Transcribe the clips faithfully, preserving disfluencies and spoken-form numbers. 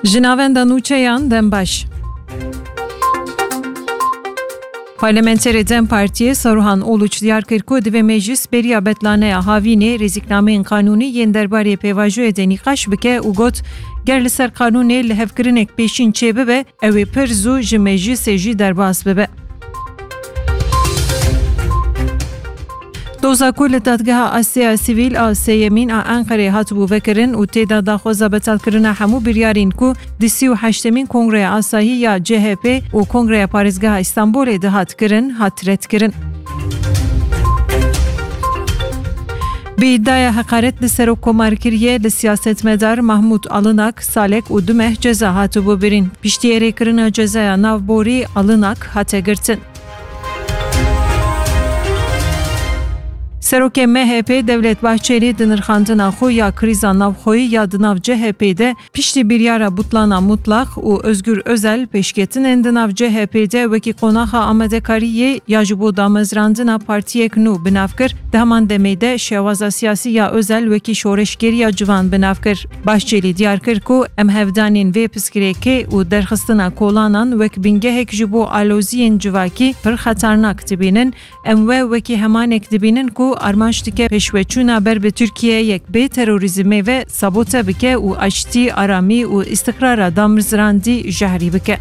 Ji navenda nûçeyan dem baş. Parlamenterê dem Partiyê Saruhan Uluç diyar kir ku divê meclis beriya betlaneya havînê rêzîknameyên qanûnî yên derbarê pêvajoyê de nîqaş bike û got, ger li ser qanûnê lihevkirinek pêşîn çêbibe, ew ê pir zû ji meclisê jî derbas bibe. Doza ku li Dadgeha Asya Sivîl a Sêyemîn a Enqerê hatibû vekirin û tê de daxwaza betalkirina hemû biryarên ku di sî û heştemîn Kongreya Asayî ya C H P û Kongreya Parêzgeha Îstanbulê dihat kirin, hat redkirin. Bi îdiaya heqaret li serokkomar kiriye, li siyasetmedar Mahmûd Alinak, Salek û du meh ceza hatibû birîn. Piştî erêkirina cezaya navborî, Alinak hate girtin. Serokê M H P Devlet Bahçelî di nirxandina xwe ya krîza navxweyî ya di nav C H P de piştî biryara butlana mutlaq û Özgür Özel pêşketinên di nav C H P de wekî qonaxa amadekariyê ya ji bo damezrandina partiyek nû bi nav kir, di heman demê de şewaza siyasî ya Özel wekî şoreşgeriya civan bi nav kir. Bahçelî diyar kir ku em hevdanên vê pirsgirêkê û derxistina kolanan wek bingehek ji bo aloziyên civakî pir xeternak dibînin, em we wekî hemanek dibînin ku armanc dike pêşveçûna ber bi Tirkiyeyek bê terorîzmê ve sabote bike û aştî, aramî û îstiqrara damezrandî jehrî bike.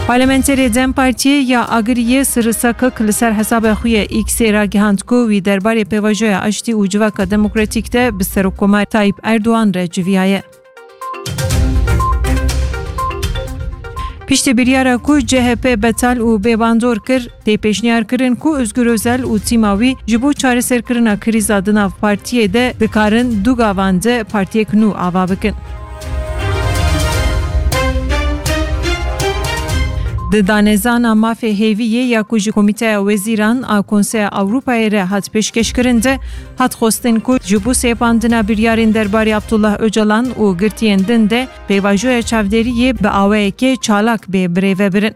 Parlamenterê dem Partiyê ya Agiriyê Sirri Sakik li ser hesaba xwe yê X-ê ragihand ku wî derbarê pêvajoya aştî û civaka demokratîk de bi Serokkomar Tayyip Erdogan re civiyaye. Piştî biryara ku C H P betal û bêbandor kir, tê pêşniyar kirin ku Özgür Özel û tîma wî ji bo çareserkirina krîza di nav partiyê de dikarin du gavan de partiyek nû ava bikin. Di danezana mafê hêviyê ya ku ji Komîteya Wezîran a Konseya Ewropayê re hat pêşkêşkirin de, hat xwestin ku ji bo sêpandina biryarên derbarê Abdullah Ocalan û girtiyên din de pêvajoya çavdêriyê bi awayekê çalak bê birêvebirin.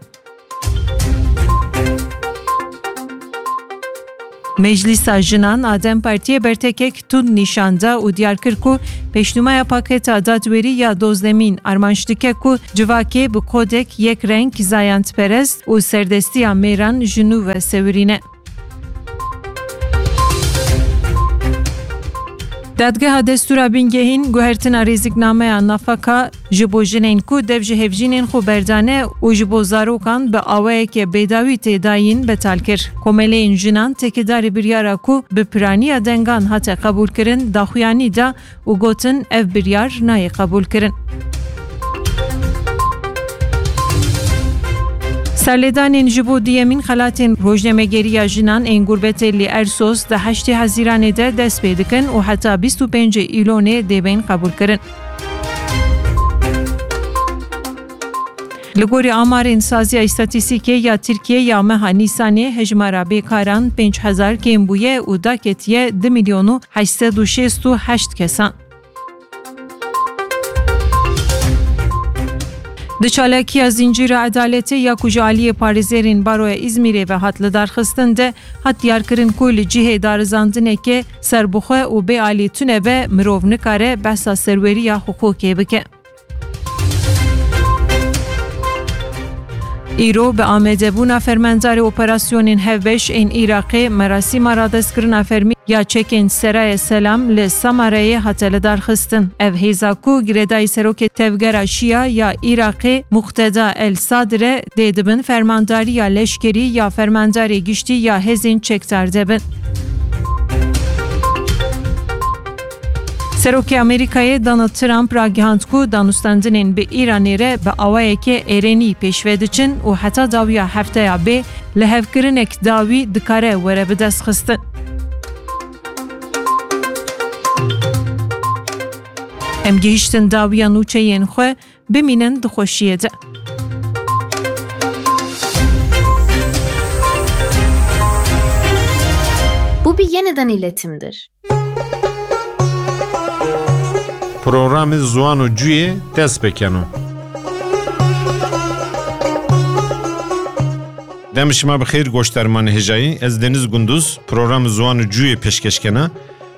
Meclîsa Jinan a dem Partiyê bertekek tund nîşan da û diyar kir ku pêşnûmeya paketa dadwerî ya dozdemîn armanc dike ku civakê bi kodek yek reng, zayendperest û serdestiya mêran ji nû ve sewirîne. Dadgeha Destûra Bingehîn guhertina rêziknameya nafaka ji bo jinên ku dev ji hevjînên xwe berdane û ji bo zarokan bi awayeke bêdawî tê dayîn betal kir. Komeleyên jinan têkedarî biryara ku bi piraniya dengan hate qebûlkirin daxuyanî da û gotin, ev biryar nayê qebûlkirin. Serlêdanên ji bo duyemîn xelatên rojnamegeriya jinan ên gurbetê li Ersos di heştê Hezîranê de dest pê dikin û heta bîst û pêncê Îlonê dê bên qebûlkirin. Li gorî amarên Saziya Îstatîstîkê ya Tirkiyê ya meha Nîsanê, hejmara bêkaran pênc hezar kêm bûye û daketiye du milyon û heşt sed û şêst û heşt kesan. Di çalakiya Zincîra Edaletê ya ku ji aliyê parêzerên Baroya Îzmîrê ve hat lidarxistin de, hat diyarkirin ku li cihê darizandineke serbixwe û bê alî tune be, mirov nikare behsa serweriya hiqûqê bike. Îro bi amadebûna fermandarê operasyonên hevbeş ên Iraqê merasîma radestkirina fermî ya çekên Seraya Selam li Samarayê hate lidarxistin. Ev hêza ku girêdayî serokê Tevgera Şia ya Iraqê Muqteda El Sadr e, dê di bin fermandariya leşkerî ya fermandarê giştî ya hêzên çekdar de bin. Serokê Amerîkayê Donald Trump ragihand ku danûstandinên bi Îranê re bi awayeke erênî pêşve diçin û heta dawiya hefteya bê lihevkirinek dawî dikare were bidestxistin. Em gihiştin dawiya nûçeyên xwe, bimînin di xweşiyê de. Bu bir yeniden iletimdir. Programê Ziwan û Cuyê dest pê keno. Dem şima bi xêr, goşdarmanê hêjayî. Ez Deniz Gunduz, programê Ziwan û Cuyê pêşkeş kena.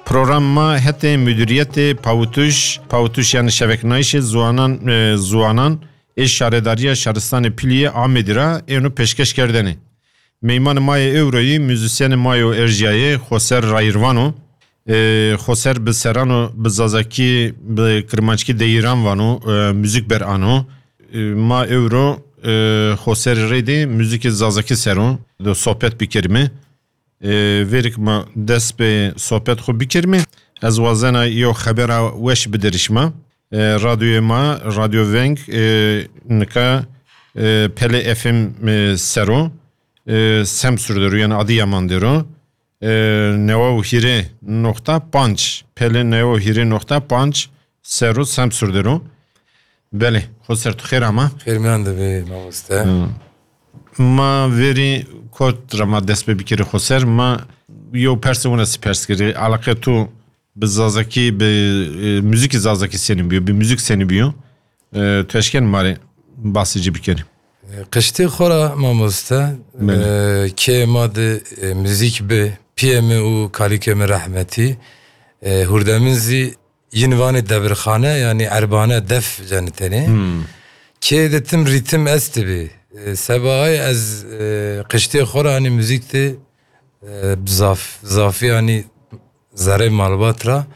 Program ma hetê Müdüriyetê Pawitiş, Pawitiş yani Şeveknayişê Ziwanan, e, Ziwanan ê Şaredariya Şaristanê Piliyê Amedî ra êno pêşkeş kerdene. Meymanê ma yê ewroyî, muzîsyenê ma yo erjiyayê, Xoser Rayirvano. E, Xoser bi serano, bi zazakî, bi kirmanckî deyiran vano, e, muzîk ber ano. E, ma ewro, e, Xoserê rê de muzîkê zazakî sero de sohbet bikerime. E, verîk ma dest bi sohbet xwe bikerime. Ez wazena yo xebera weş bidirişma. E, radyoyê ma, Radyo Veng, e, nika, e, Pele F M, e, sero, e, Semsur dero, yani Adıyaman dero. E, newa û hîrê noqta panc, Pele newa û hîrê noqta panc sero Semsur dero. Belê, Xoser tu xêr ama. Xêr miyan de be mamoste. Hı. Ma verî kot ra ma dest pê bikirî Xoser, ma yo perse wina si pers kirî. Alaqe tu bi zazakî, bi, e, muzîkî zazakî senî biyo, bi muzîk senî biyo? E, tu eşken ma rê basê ci bikerî. Qiştê xwe ra mamoste, Belê. e, kê ma de, e, muzîk bi, piyê min û kalîkê min rehmetî, e, hurdemin zî yin vanê debirxane, yani erbane def cenitênê. Hmm. Kê de tim rîtim estibî. E, seba ay ez, e, qiştê xwe ra, hani muzîk de, e, zaf, zafî, hani zerê malbat ra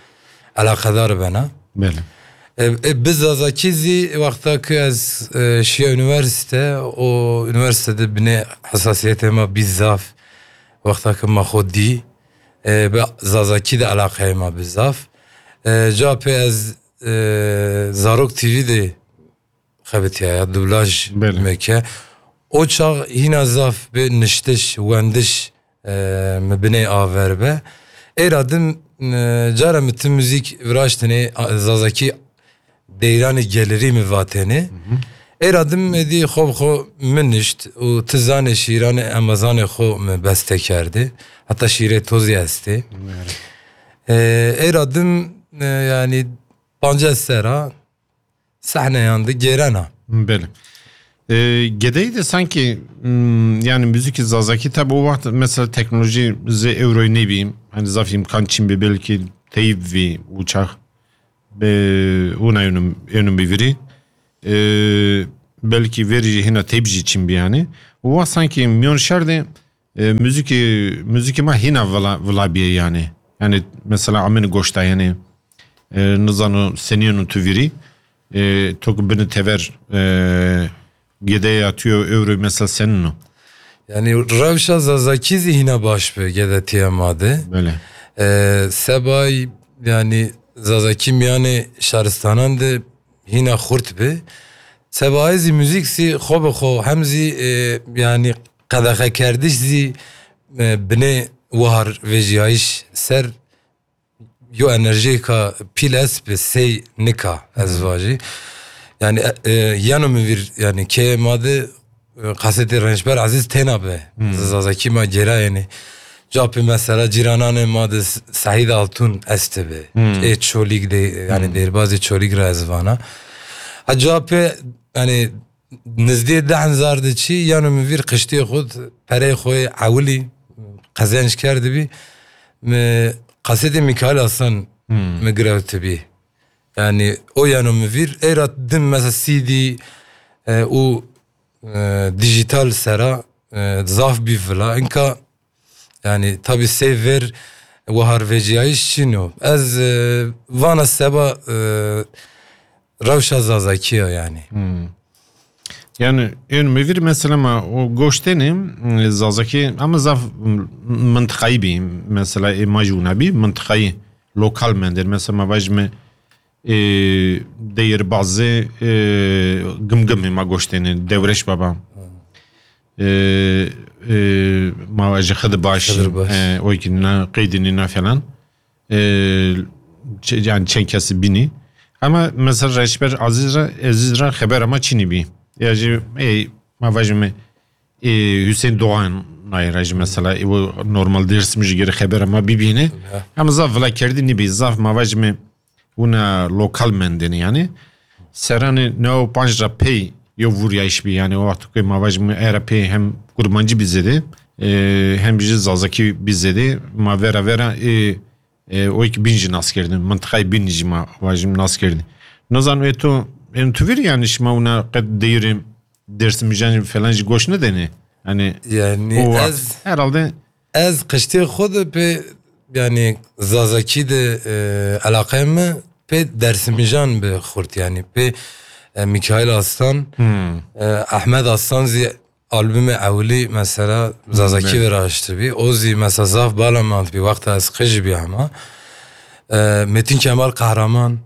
eleqedar bena. Belê. E, e, bi zazakî zî wexta ku ez, e, şiya unîversîte û unîversîte de binê hesasiyetê ma bî zaf. Wexta ku ma xwe dî, e, bi zazakî de eleqeyê ma bi zaf. E, ca pê ez, e, Zarok T V de xebitiya ya dublaj Belê. meke. O çax hîna zaf bi niştiş, wendiş, e, mi binê aver be. Êra din, e, cara mi ti muzîk viraştinê, a, zazakî deyranê gelirî mi vatêne. Êra din êdî xwe bi xwe min nişt û ti zanê şîranê emezanê xwe mi beste kerdê. Heta şîrê tozî estê. E, êra din, e, yani pancas sera sehneyan de gêrena. Belê. E, gedeyî de sanki, m, yani muzîkê zazakî tabi o wext mesela teknolojî zê ewroyî nebî. Hani zaf îmkan çin bî belkî teyb vî û çax be ûna ênû, ênû bivîrî. E, belkî verî jî hîna teyb jî çin bî yani. O wext sanki miyon şer de E, muzîkê, muzîkê ma hîna vila, vila bîye yani. Yani mesela amêne goşta yani, e, nizano senî yeno tu vîrî, e, to ku bini tever, e, gedeya tu yo ewro mesela senîn o? Yani rewşa zazakî zî hîna baş bi gedetiya ma de. Belê. E, sebay yani zazakî miyanê şaristanan de hîna xurt bi. Seba ez zî muzîk zî xwe bi xwe hem zî, e, yani qedexekerdiş zî, e, binê wahar vejîyayîş ser yo enerjiyêka pîl est bi sey nika ez vajî. Yani, e, e, yeno min vîr, yani kê ma de, e, kasetê Rençber Ezîz têna be. Hmm. Zazakî ma gêra yani. Ca pê mesela cîrananê ma de S-, Sehîd Altun este be. Hmm. Ê Çolîg de, yani Hmm. Dêrbazê Çolîg ra ez vana. Ha ca pê, yani nizdî deh hezar de çî, yeno min vîr qiştê xwe d-, pereyê xwe ewilî qezenc kerdibî. Mi kasetê Mîkail Aslan Hmm. mi girewtibî. Yani o yeno min vîr, êra din mesela C D, e, û, e, dijital sera, e, zaf bî vila. Inka yani tabi sey ver wahar veciyayîş çin o. Ez, e, vana seba, e, rewşa zazakî ya yani. Hmm. Yani ên mi vîr mesela ma o goştênê, e, zazakî ama zaf, m-, mintiqayî bî. Mesela ê ma jî wina bî, mintiqayî lokal mendêr. Mesela ma vajime, e, Deyirbazê, e, Gimgimê ma goştênê, Dewreş Baba. E, e, ma vajî Xidir Baş, Xidir Baş. E, o ki na, Qeydînî na falan. E, ç-, yani çend kesî bînî. Ama mesela Reşber Aziz ra, Aziz ra xebera ma çinî bî. Ya jî, e, ma vajime, e, Hüseyin Doğan nayê ra jî mesela, e, o normal Dêrsim jî gere xebera ma bibîne. Ya. Ama zaf vila kerdî nîbî, zaf ma vajime wina lokal mendêne yani. Seranê neway û panc ra pey yo vuriyayîş bî yani, o wexto ku ma vajime era pey hem kurmancî bî zêde, e, hem jî zazakî bî zêde. Ma vera vera, e, E, o ki bîn jî nas kirdin. Mintiqayê bîn jî ma vajim nas kirdin. Nazan e tu, em tu vir yani şima una qet deyirê Dêrsimîjan falan jî goş nedene. Yani Yani o ez herhalde ez qiştê xwe de pê yani Zazakî de e, elaqeyê mi pê Dersimîjan bi xurt yani pê e, Mikail Aslan, e, Ahmet Aslan zî albümê ewilî mesela Zazakî Evet. Viraştibî. O zî mesela zaf bala mantbî wexta ez qij bî hema. E, Metin Kemal Kahraman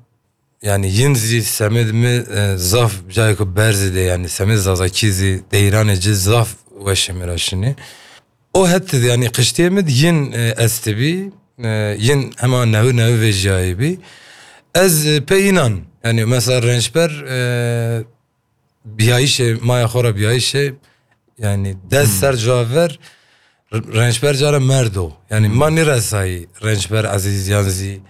yani yin zî semêd mi e, zaf cayê ku berzî de yani semêd Zazakî zî deyranê ci zaf weşê mi ra şinî. O het yani qiştê mi yin e, estibî. E, yin hema newi newi vejiyayê bî. Ez e, pê înan yani mesela Rençber e, biyayişê maya xwe ra biyayişê yani des ser caver Rençber cara merdo. Yani ma nêresayî Rençber Ezîz yan zî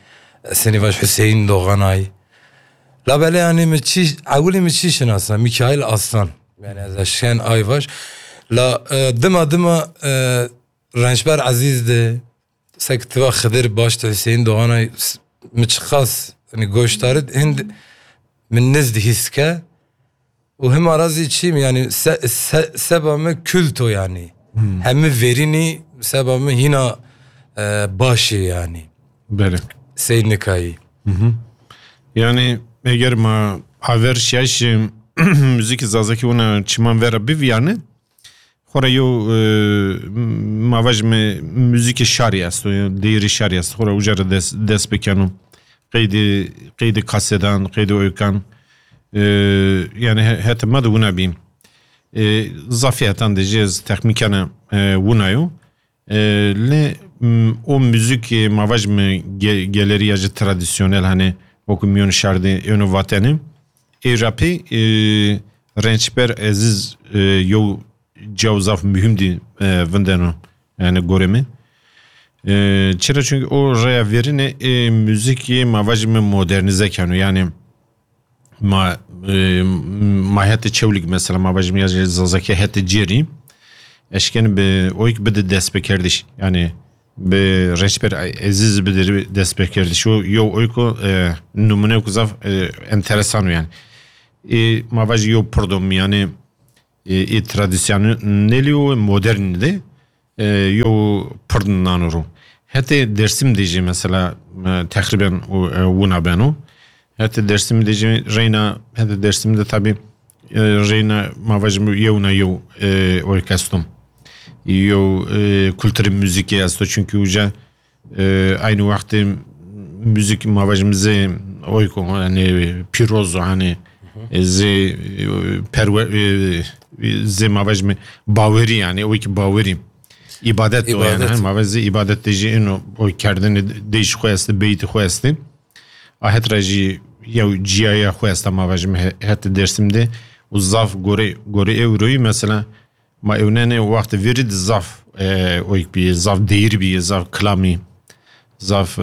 Senî vaj Hüseyin Doğanay. La belê yani mi çî ewilî mi çî şinasa Mikail Aslan. Yani ez eşken ay vaj. La e, dima dima e, Rençber Ezîz de sek tiva Xidir baş de Hüseyin Doğanay s- mi çiqas yani goştarit hind min niz dihîske. Û hima ra zî çîm yani se, se, seba me kulto yani. Hemi verînî seba me hîna e, başê yani. Belê. Seynikayî. Yani eger ma aver şiyaş müzik Zazakî wina çiman vera biviyane, xora yo e, ma vaj me müzik şarî esto, ya değeri şarî esto. Xora uca ra des, des bikeno. Qeydi, qeydi kasedan, qeydi oykan. E, yani he- hete ma de wina bîn. E, zafî hetan de jez texmîkane e, wina yo. E, lê m, o müzik e, ma vaj me ge, geleri ya ji tradisyonel hani oku miyon şardi eno vateni. E, rapî e, Rençber Eziz e, yo caw zaf mühim di e, vindeno yani gore mi. E, çira çünkü o raya verine e, müzik e, ma vaj me modernize keno yani ma e, ma hete çewlik mesela ma vajim ya Zazakî hete cêrî eşken bi oyk bide destpêkerdiş yani bi Reçber Eziz bide destpêkerdiş o yo oyko e, numune ku zaf e, enteresan o yani e, ma vajî yo purdom yani e, e, tradisyonelî û modernî de e, yo pird nano ro. Hetê Dersim de jî mesela e, teqrîben û, e, wina beno. Hetê Dersim de jî reyna, hetê Dersim de tabi e, reyna ma vajim yewna yew e, orkestrum. Yew e, kulturê muzîkê esto çünkü uca e, aynı wextê müzik ma vajim zê oyko yani pirozo hani e, zê e, perwe e, zê ma vajim bawerî yani o ki bawerî ibadet o yani İbadet. Hani ma vajim zê ibadet de jî ino o kerdini de jî xwe este beyti xwe este ahet ra jî yew ciyaya xwe este ma vajim he- hete Dersim de û zaf gore gore ewroyî mesela ma ewnene wextê verî di zaf e, oyk bî, zaf deyir bî, zaf kilamî, zaf e,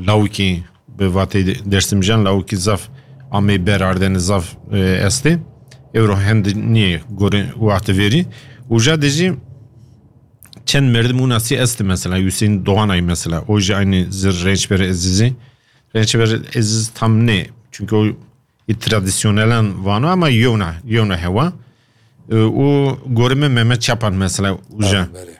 lawikî bi vatê Dersimcan lawikî zaf amê ber ardene zaf e, estê. Ewro hendi niye gore wextê verî. Uca de jî çend merdim û nasî estê mesela, Hüseyin Doğanay mesela. O jî aynı zir Rençber Ezizî. Rençber Eziz tam ne. Çünkü o tradisyonelen vano ama yewna, yewna hewa. E, û gorime Mehmet Çapan mesela uca. Belê.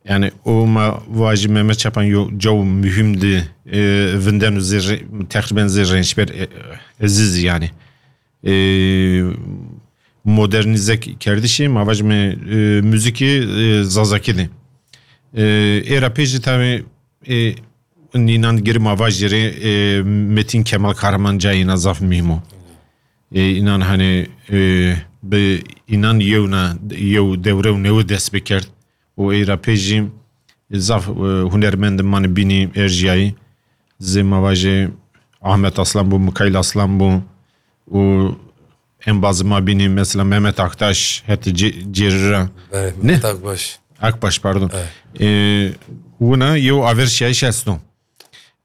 Yani o ma vajî Mehmet Çapan yo caw mühim di e, vinden û zê re- teqrîben zê Rençber e, Eziz yani. E, modernize kerdişê ma vajime e, müzikê e, Zazakî de. E, êra pê jî tabi e, nînan girî ma vajî rê e, Metin Kemal Kahraman cayê înan zaf muhîm o. E, înan hani e, bi înan yewna yew dewre û newe dest bikerd û êra pê jî zaf e, hunermend mane bînî erjiyayî zê ma vajê Ahmet Aslan bû, Mikail Aslan bû û embazê ma bînî mesela Mehmet Aktaş heti cê- cêrira. Belê, Ne? Tak baş. Akbaş pardon. E, wina yew aver şiyayîş esto.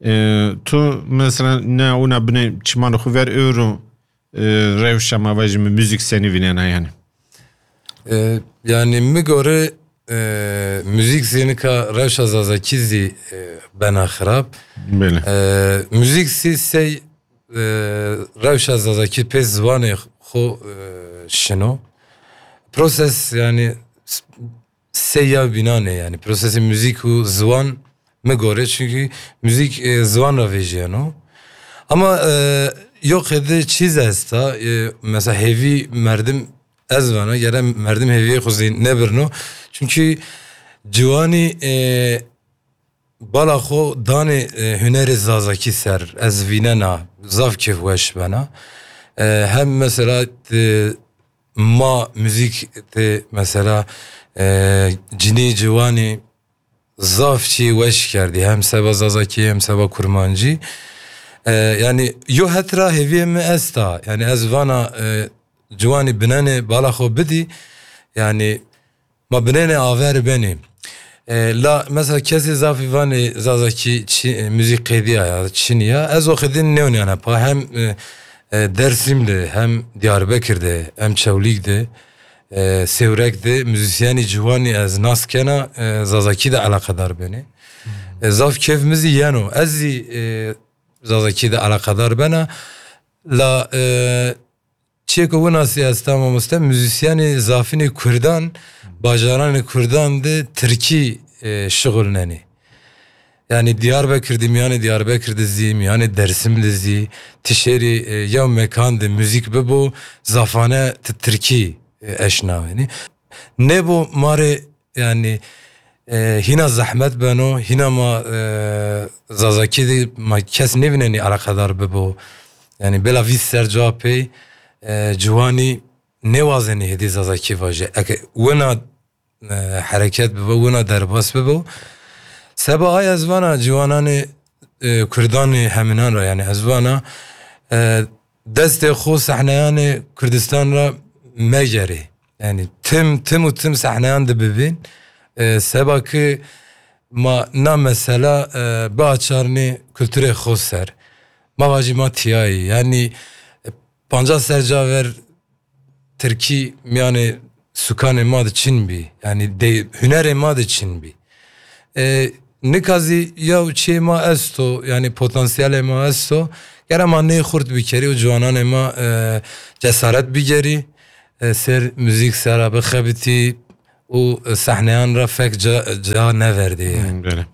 E, tu mesela ne wina binê çimanê xwe ver euro e, rewşa ma vajî mi müzik senî vînena yani. E, yani mi gore e, müzik zî nika rewşa Zazakî zî, e, bena xirab. Belê. E, müzik zî sey, e, rewşa Zazakî pê ziwanê xo, e, şino. Proses yani s- sey ya bînanê yani. Prosesê müzik û ziwan mi gore çünkü müzik, e, ziwan ra vejiyeno. Ama, e, yok edi çiz esta, e, mesela hevi merdim ez vana, gere merdim heviyê xo zî nebirno. Çünkü ciwanî, e, bala xo danê, e, hunerê Zazakî ser, ez vînena, zaf kêf weş bena. E, hem mesela, e, ma müzik de mesela, e, cinî ciwanî zaf çî weş kerdî. Hem seba Zazakî, hem seba Kurmancî. E, yani yo het ra heviyê mi esta. Yani ez vana, e, ciwanî binenê bala xo bidî. Yani ma binenê aver benî. E, la mesela kesê zafî vanê Zazakî çi, e, müzik qêdiya ya, çiniya. Ez o xidin nêwniyana pa hem, e, e, Dersim de, hem Diyarbekir de, hem Çewlîg de, e, Sêwreg de müzisyenî ciwanî ez nas kena, e, Zazakî de alaqedar benê. E, zaf kêf mi zî yeno. Ez zî, e, Zazakî de alaqedar bena. La, e, çiyê ku winasî esta mamoste, müzisyenê zafînê Kurdan, bajaranê Kurdan de Tirkî, e, şixulnenê. Yani Diyarbekir de, miyanê Diyarbekir de zî, miyanê Dersim de zî, tişêrî, e, yew mekan de müzik bibo, zafane ti Tirkî, e, eşnawenî. Nêbo marê yani, e, hîna zehmet beno, hîna ma, e, Zazakî de ma kes nêvînenî alaqedar bibo. Yani bela vîst ser ca pey, e, ciwanî nêwazenî hêdî Zazakî vaje. Eke wina, e, hereket bibo, wina derbas bibo. Seba ay ez vana ciwananê, e, Kurdanê heminan ra, yani ez vana, e, destê xo sehneyanê Kurdistan ra megerê. Yani tim, tim û tim sehneyan de bibîn. E, seba ki ma na mesela, e, biaçarnê kulturê xo ser. Ma vajî ma tiyayî. Yani, e, pancas ser ca ver Tirkî miyanê sukanê ma de çin bî. Yani de, hunerê ma de çin bî. E, nika zî yew çê ma esto, yani potansiyelê ma esto. Gere ma nê xurt bikerî û ciwananê ma, e, cesaret bigerî, e, ser müzik sera bixebitî û, e, sehneyan ra fek ca, ca neverdê. Yani. Belê.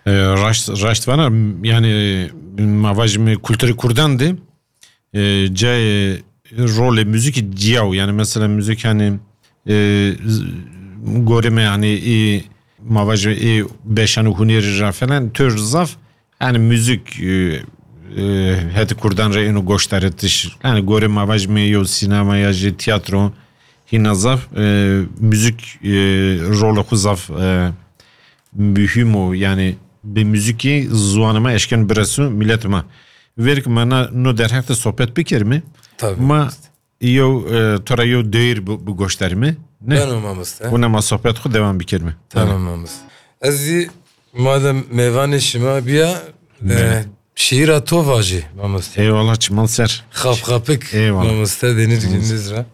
E, raşt, raşt vana, yani ma vajî me kulturê Kurdan de, e, cayê rolê müzikî ciyaw. Yani mesela müzik hani, e, z- gorê me yani ê, ma vajî ê beşan û hunerî ra falan tür zaf. Yani müzik, e, e, heti Kurdan re êno goştaritiş. Yani gorê ma vajî me yo sinema ya jî tiyatro hîna zaf, e, müzik, e, rolê xo zaf, e, mühim o. Yani bi müzikî ziwanê ma eşken biresu millet ma. Verk ma na no derheq de sohbet bikerime. Tabii. Ma yew, e, to ra yew deyr bi, bi goştarime. Ne? Beno mamoste. Wina ma sohbet xo devam bikerime. Tamam mamoste. Ez zî madem mêvanê şima biya, e, Belê. şiîra to vajî mamoste. Eyvallah, çiman ser. Xapxapik Eyvallah. Mamoste Deniz Gündüz ra.